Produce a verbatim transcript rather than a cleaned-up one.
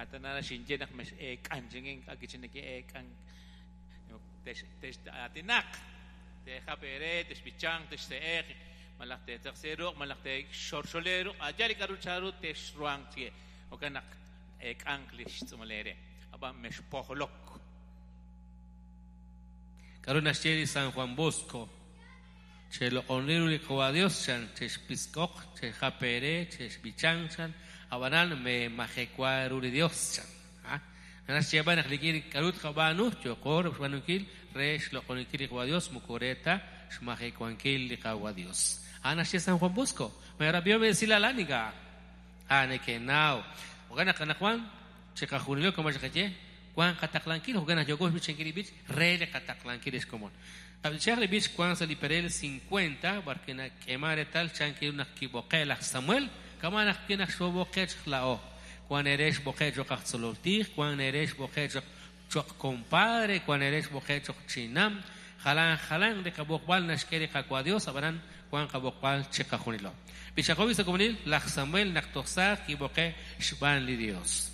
Atanara xinye naq mex'eek'an chingin k'akichineke eek'an tex tex aatinaq teejap eere texb'ichanq texse'eq malaj teetzaqsi ruq' malaj teexorxole ruq' ayal li k'aru charu texruhanq chie jo'kan naq eek'anq li xtz'uumal eere ab'an mexpojlok. K'aru naxye li San Juan Bosco? Cheloq'oni ru li Qawa Dios chan chexpisk'oq chejap eere chexb'ichanq chan ab'anan memajekwa ru li Dios chan. Naxyeeb'al naq li k'aru tqab'aanu yoqo xb'aanunkil re xloq'oninkil li Qawa Dios moko re ta xmajewankil li Qawa Dios. A'an naxye San Juan Bosco. Merab'ihom esilal aniga. A nekenaw. Jo'kan naq anaqwan chiqajunilo kama xqaye wan qataqlankil jo'kan naq yoko xb'ichankil li b'ich re li qataqlankil xkomon. Ab'ichaq li b'ich wan sa li perel cincuenta barke nak'ema retal chan kiru naq kib'oqe laj Samuel kama naq kinaq xb'oqe la'o. Wan ere xb'oqe choq aj tzolol tij, wan ere xb'oqe choq choq compadre, wan ere xb'oqe choq chinam, jalan jalan li qab'oqb'al naxk'e li Qawa Dios ab'anan wan qab'oqb'al chiqajunilo. B'ichaqobi sa komunil laj Samuel naq toj saaj kib'oqe xb'aan li Dios.